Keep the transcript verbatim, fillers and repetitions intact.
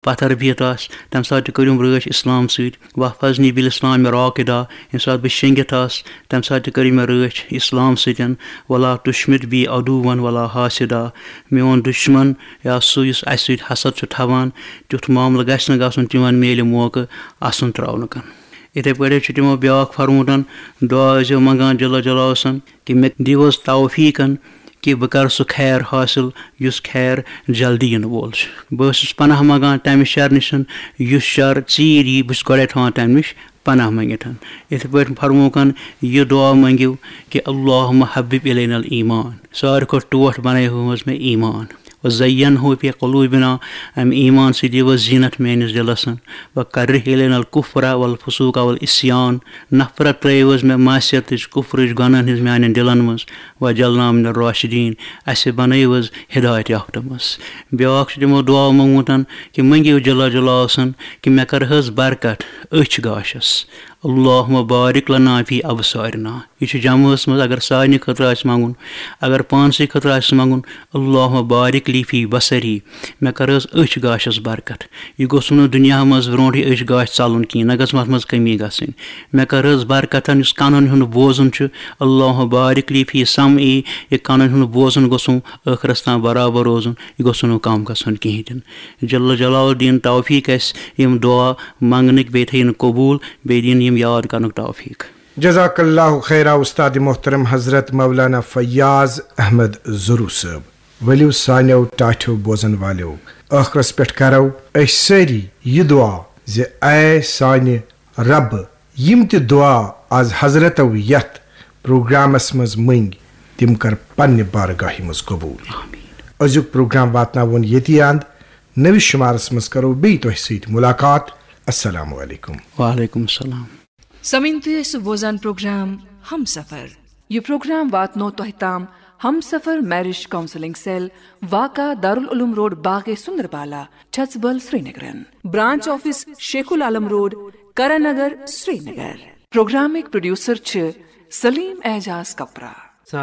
پتھر بِہِتھ آسہِ، تَمہِ ساتہٕ تہِ کٔرِم رٲچھ اِسلام سۭتۍ۔ واحفظنی بالاسلام راقدا، ییٚمہِ ساتہٕ بہٕ شیٚنگِتھ آسہٕ، تَمہِ ساتہٕ تہِ کٔرِم مےٚ رٲچھ اِسلام سۭتۍ۔ ولا تشمت بی عدوا ولا حاسدا، میون دُشمن یا سُہ یُس اَسہِ سۭتۍ حسد چھُ تھاوان، تیُتھ معاملہٕ گژھِ نہٕ گژھُن، تِمن میلہِ موقعہٕ اَسُن تراونہٕ کن۔ یِتھے پٲٹھۍ چھُ تِمو بیٛاکھ فرموٗدن، دُعا ٲسۍزیو منٛگان جل جلالہ سن کہِ مےٚ دِیِو حظ توفیٖقن کہِ بہٕ کَرٕ سُہ خیر حٲصِل یُس خیر جلدی یِنہٕ وول چھُ۔ بہٕ ٲسٕس پناہ منٛگان تَمہِ شرٕ نِش یُس شر ژیٖرۍ یی، بہٕ چھُس گۄڈَے تھاوان تَمہِ نِش پناہ منٛگِتھ۔ یِتھے پٲٹھۍ فرمووُکھ، یہِ دُعا مٔنٛگِو کہِ اللہم حبب الینا الایمان۔ ساروی کھۄتہٕ ٹوٹھ بنٲیِو حظ مےٚ ایمان۔ وزینہ فی قلوبنا، اَمہِ ایمان سۭتۍ دِیِو حظ زیٖنت میٲنِس دِلس۔ وکرہ الینا الکفر والفسوق والعصیان، نفرت ترٲیِو حظ مےٚ معصیتٕچ، کفرٕچ، گۄناہن ہٕنٛز میانٮ۪ن دِلن منٛز۔ وجعلنا من الراشدین، اَسہِ بنٲیِو حظ ہدایت یافتہٕ منٛز۔ بیٛاکھ چھُ تِمو دُعا منٛگمُت کہِ مٔنٛگِو جل جلالہ سن کہِ مےٚ کر حظ برکت أچھ گاشس۔ اللہم بارک لنا فی ابصارنا۔ یہِ چھُ جمٲژ منٛز اگر سارنٕے خٲطرٕ آسہِ منٛگُن، اگر پانسٕے خٲطرٕ آسہِ منٛگُن، اللہم بارک لی فی بصری، مےٚ کر حظ أچھ گاشس برکت۔ یہِ گوٚژھ نہٕ دُنیاہس منٛز برونٛٹھٕے أچھ گاش ژلُن کِہیٖنۍ، نہ گٔژھ اتھ منٛز کمی گژھٕنۍ۔ مےٚ کر حظ برکتن یُس کنن ہُنٛد بوزُن چھُ، اللہم بارک لی فی سمعی، یہِ کنن ہُنٛد بوزُن گوٚژھُم ٲخرس تام برابر روزُن، یہِ گوٚژھ نہٕ کم گژھُن کِہیٖنۍ تہِ نہٕ۔ جل جلال دِن توفیٖق اَسہِ یِم دُعا منٛگنٕکۍ، بیٚیہِ تھٲیِن قبوٗل، بیٚیہِ دِن یِم یاد کرنُک توفیٖق۔ جزاک اللہ خیرا استاد محترم حضرت مولانا فیاض احمد زرو صٲب۔ ؤلِو سانیو ٹاٹھیو بوزن والیو، ٲخرس پٮ۪ٹھ کرو أسۍ سٲری یہِ دُعا زِ اے سانہِ رب، یِم تہِ دُعا از حضرتو یتھ پروگرامس منٛز مٔنگۍ، تِم کر پننہِ بارگاہہِ منٛز قبوٗل۔ أزیُک پروگرام واتناوون ییٚتی اند۔ نٔوِس شمارس منٛز کرو بیٚیہِ تۄہہِ سۭتۍ ملاقات۔ السلام علیکم۔ وعلیکم السلام۔ سمعین تُہۍ ٲسِو بوزان پروگرام ہم سفر۔ یہِ پروگرام واتنو تۄہہِ تام ہم سفر میرج کاؤنسلنگ سیل، واقع دارالعلوم روڈ، باغے سندربالا، چھژبل، سرینگرن۔ Branch office Sheikh ul Alam road, Karan Nagar, Srinagar. پروگرامٕکۍ پروڈیوسر چھِ سلیم اعجاز کپرا۔